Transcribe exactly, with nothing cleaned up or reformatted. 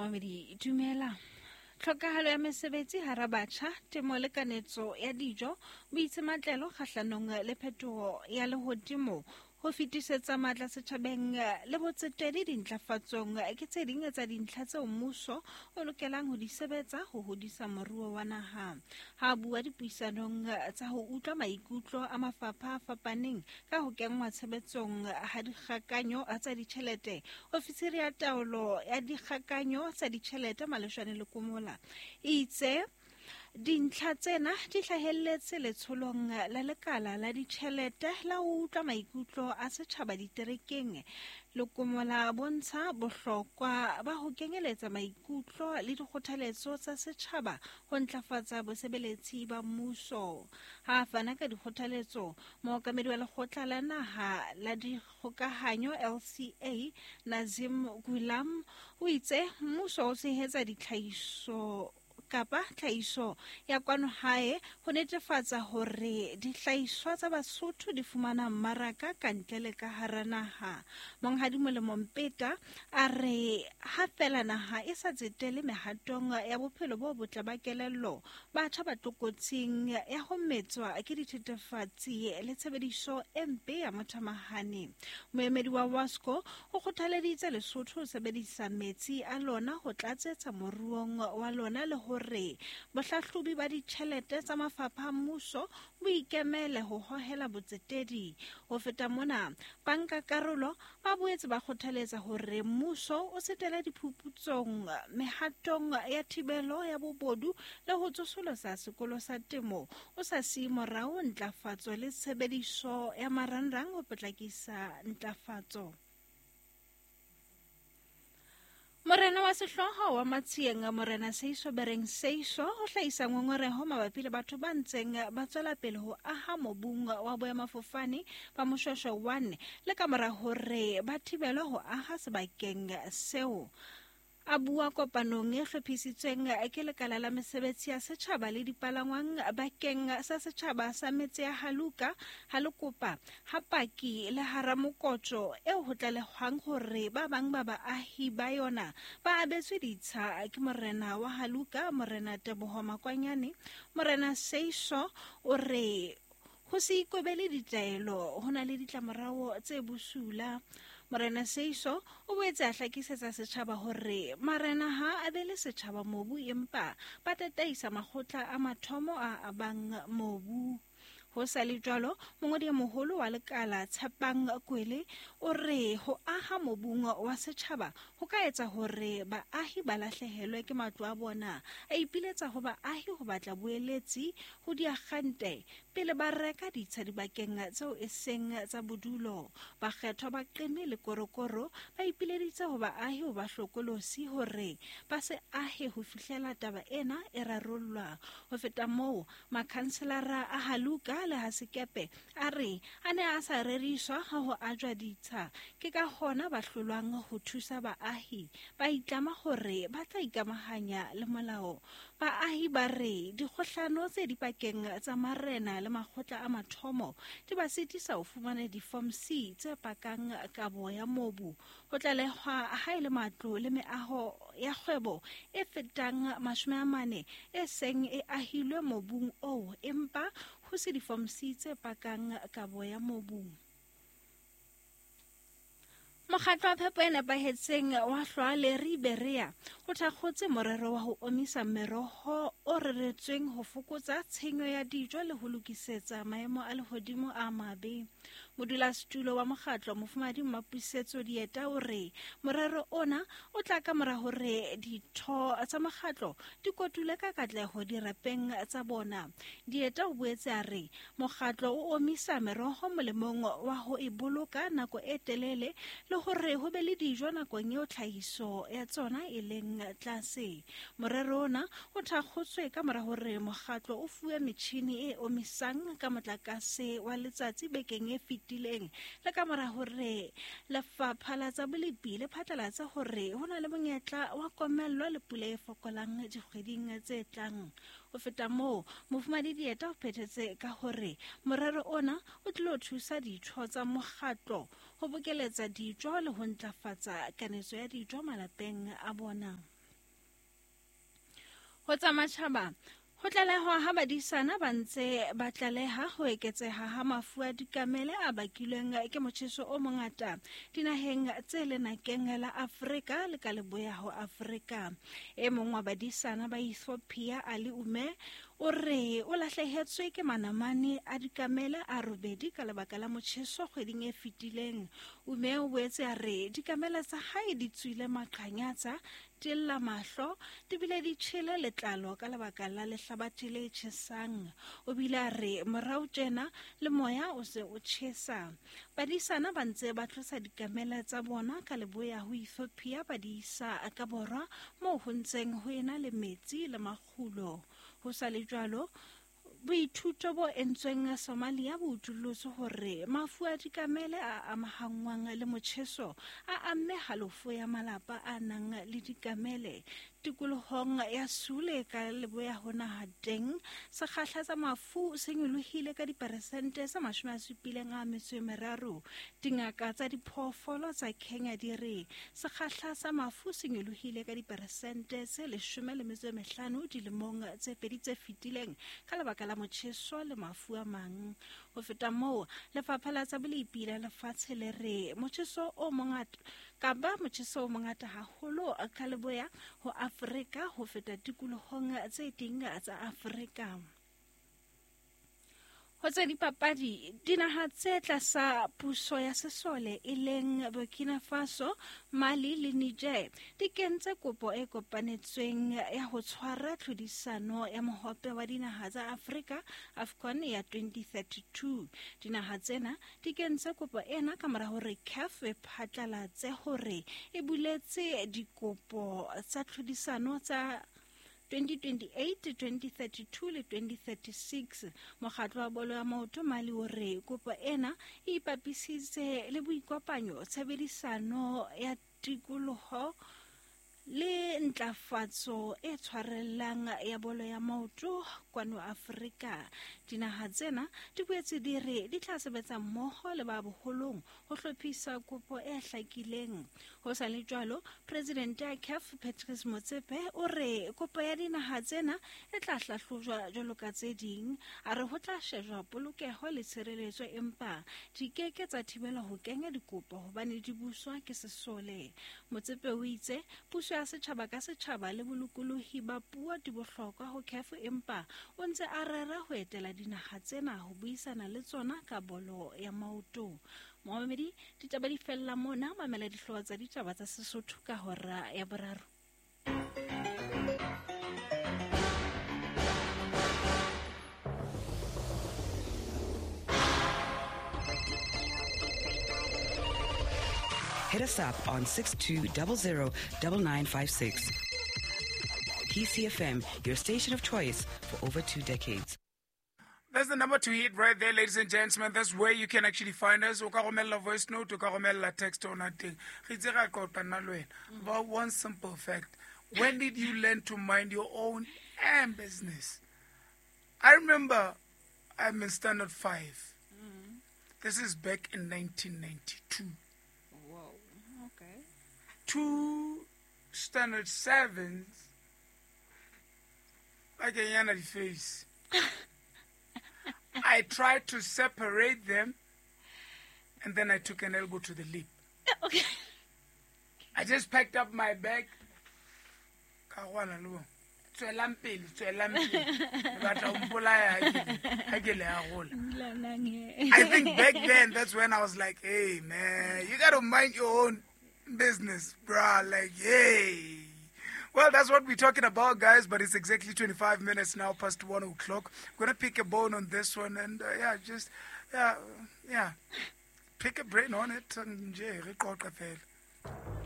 Momamedi, dumela. Tlhokahalo ya mesebetsi hara batjha, temo le kanetso ya dijo, boitsematlelo kgahlanong le phetoho ya lehodimo, ho fetisetsa matla setjhabeng le botsetedi dintlafatsong ke tse ding tsa dintlha tseo mmuso o lokelang ho di sebetsa ho hodisa moruo wa naha. Ha bua dipuisanong tsa ho utlwa maikutlo a mafapha a fapaneng ka ho kenngwa tshebetsong ha dikgakanyo tsa ditjhelete, ofisiri ya taolo ya dikgakanyo tsa ditjhelete Maleshwane Lekomola e itse dintlha tsena di hlahelletse letsholong la lekala la ditjhelete la ho utlwa maikutlo a setjhaba diterekeng. Lekomola bontsha bohlokwa ba ho kenyeletsa maikutlo le dikgothaletso tsa setjhaba ho ntlafatsa bosebeletsi ba mmuso. Ha a fana ka dikgothaletso, mookamedi wa lekgotla la naha la dikgokahanyo L C A Nazim Gulam o itse mmuso o tshehetsa ditlhahiso kapa tlhahiso ya kwano hae ho netefatsa hore dihlahiswa tsa Basotho di fumana mmaraka ka ntle le ka hara naha. Monghadi Molemo Mpeta a re ha fela naha e sa tsetele mehatong ya bophelo bo botle ba kelello, batjha ba tlokotsing ya ho metswa ke dithethefatsi le tshebediso e mpe ya mothamahane. Moemedi wa WASCO o kgothaleditse Lesotho ho sebedisa metsi a lona ho tlatsetsa moruong wa lona le ho hore bohlahlobi ba ditjhelete tsa mafapha a mmuso bo ikemele ho hohela botsetedi. Ho feta mona, bankakarolo ba boetse ba kgothaletsa hore mmuso o setele diphuputsong mehatong ya thibelo ya bobodu le ho tsosolosa sekolo sa temo o sa siye morao ntlafatso le tshebediso ya marangrang ho potlakisa ntlafatso. Morena wa sehlooho wa Matsieng, Morena Seiso Bereng Seiso, ho hlahisa ngongoreho mabapi le batho ba ntseng ba tswela pele ho aha mobung wa boemafofane ba Moshweshwe one le ka mora hore ba thibelwe ho aha sebakeng seo. A bua kopanong e hlophisitsweng ke lekala la mesebetsi ya setjhaba le dipalangwang bakeng sa setjhaba sa metse ya Haluka, Halokopa, Hapaki le Haramokotjo eo ho tlalehwang hore ba bang ba baahi ba yona ba abetswe ditsha ke morena wa Haluka, Morena Teboho Makwanyane. Morena Seiso o re ho se ikobele ditaelo ho na le ditlamorao tse bosula. Morena Seiso o boetse a hlakisetsa setjhaba hore marena ha a abele setjhaba mobu empa ba tataisa makgotla a mathomo a abang mobu. Ho sa le jwalo, mongodi e moholo wa lekala Tshepang Kwele o re ho aha mobung wa setjhaba ho ka etsa hore baahi ba lahlehelwe ke matlo a bona. A ipiletsa ho baahi ho batla boeletsi ho diakgante pele ba reka ditsha dibakeng tseo e seng tsa bodulo. Bakgethwa ba Qeme le Korokoro ba ipileditse ho baahi ho ba hlokolosi hore ba se ahe ho fihlela taba ena e rarollwa. Ho feta moo, makhanselara a Haluka le Hasekepe a re a ne a sa reriswa ha ho ajwa ditsha, ke ka hona ba hlolwang ho thusa baahi. Ba itlama hore ba tla ikamahanya le molao. Baahi ba re dikgohlano tse dipakeng tsa marena le makgotla a mathomo di ba sitisa ho fumana di-form C tse pakang kabo ya mobu. Ho tlalehwa ha e le matlo le meaho ya kgwebo e fetang mashome a mane e seng e ahilwe mobung oo, empa ho se di-form C tse pakang kabo ya mobu. Mokgatlo wa phepo e nepahetseng wa Hlwale Riberea o thakgotse morero wa ho omisa meroho o reretsweng ho fokotsa tshenyo ya dijo le ho lokisetsa maemo a lehodimo a mabe. Modulasetulo wa mokgatlo Mofumahadi Mmapuisetso Dieta o re morero ona o tla ka mora hore ditho tsa mokgatlo di kotule ka katleho dirapeng tsa bona. Dieta o boetse a re mokgatlo o omisa meroho molemong wa ho e boloka nako e telele le hore ho be le dijo nakong eo tlhahiso ya tsona e leng tlase. Morero ona o thakgotswe ka mora hore mokgatlo o fuwe metjhini e omisang ka motlakase wa letsatsi bekeng e fetileng le ka mora hore lefapha la tsa bolepi le phatlalatse hore ho na le monyetla wa komello le pula e fokolang dikgweding tse tlang. Ho feta moo, Mofumahadi Dieta o phethetse ka hore morero ona o tlilo thusa ditho tsa mokgatlo ho bokeletsa dijo le ho ntlafatsa kanetso ya dijo malapeng a bona. Ho tsa matjhaba, ho tlalehwa ha badisana ba ntse ba tlaleha ho eketseha ha mafu a dikamele a bakilweng ke motjheso o mongata dinaheng tse lenakeng la Afrika le ka leboya ho Afrika. E mong wa badisana ba Ethiopia, Ali Ume, o re o lahlehetswe ke manamane a dikamele a robedi ka lebaka la motjheso kgweding e fetileng. Ume o boetse a re dikamele tsa hae di tswile maqhanyatsa, di lla mahlo, di bile di tjhele letlalo ka lebaka la lehlabathe le tjhesang. O bile a re morao tjena le moya o se o tjhesa. Badisana ba ntse ba tlosa dikamele tsa bona ka leboya ho Ethiopia ba di isa ka borwa moo ho ntseng ho ena le metsi le makgulo. Ho sa le jwalo, boithuto bo entsweng Somalia bo utullotse hore mafu a dikamele a amahanngwang le motjheso a amme halofo ya malapa a nang le dikamele. Tikolohong ya Sule ka leboya ho naha teng, sekgahla sa mafu se nyolohile ka diperesente tse mashome a supileng a metso e meraro. Dingaka tsa diphoofolo tsa Kenya di re sekgahla sa mafu se nyolohile ka diperesente tse leshome le metso e mehlano dilemong tse pedi tse fetileng ka lebaka la motjheso le mafu a mang. Ho feta moo, lefapha la tsa bolepi la lefatshe le re motjheso o mongata kapa motjheso o mongata haholo ka leboya ho Afrika ho feta tikolohong tse ding tsa Afrika. Ho tsa dipapadi, dinaha tse tlasa puso ya sesole e leng Burkina Faso, Mali le Niger di kentse kopo e kopanetsweng ya ho tshwara tlhodisano ya mohope wa dinaha tsa Afrika AFCON ya twenty thirty-two. Dinaha tsena di kentse kopo ena ka mora hore CAF e phatlalatse hore e buletse dikopo tsa tlhodisano tsa twenty twenty-eight, twenty thirty-two le twenty thirty-six. Mokgatlo wa bolo ya maoto Mali o re kopo ena e ipapisitse le boikopanyo, tshebedisano ya tikoloho le ntlafatso e tshwarellang ya bolo ya maoto kwano Afrika. Dinaha tsena di boetse di re di tla sebetsa mmoho le ba boholong ho hlophisa kopo e hlakileng. Ho sa le jwalo, presidente ya CAF Patrice Motsepe o re kopo ya dinaha tsena e tla hlahlojwa jwalo ka tse ding. A re ho tla shejwa polokeho le tshireletso, empa di keke tsa thibelwa ho kenya dikopo hobane di buswa ke sesole. Motsepe o itse puso ya setjhaba ka setjhaba le bolokolohi ba puo di bohlokwa ho CAF, empa o ntse a rera ho etela dinaha tsena ho buisana le tsona ka bolo ya maoto. Momamedi, ditaba di fella mona. Mamela dihlooho tsa ditaba tsa Sesotho ka hora ya boraro. Hit us up on six two zero zero nine nine five six. P C F M, your station of choice for over two decades. That's the number to hit right there, ladies and gentlemen. That's where you can actually find us. O ka romella voice note, o ka romella text on that thing. Re itse ra qoqa nna le wena about one simple fact. When did you learn to mind your own damn business? I remember I'm in standard five. Mm. This is back in nineteen ninety-two. Whoa, okay. Two standard sevens, like a yana face. I tried to separate them, and then I took an elbow to the lip. Okay. I just packed up my bag. Ka rwala le bona. Tswelang pele, tswelang pele. Le batla ho mpolaya ha ke, ha ke le arola. I think back then, that's when I was like, hey, man, you gotta mind your own business, bruh. Like, hey. Well, that's what we're talking about, guys, but it's exactly twenty-five minutes now past one o'clock. I'm gonna pick a bone on this one and, uh, yeah, just, yeah, yeah, pick a brain on it. And, yeah, re qoqe fela.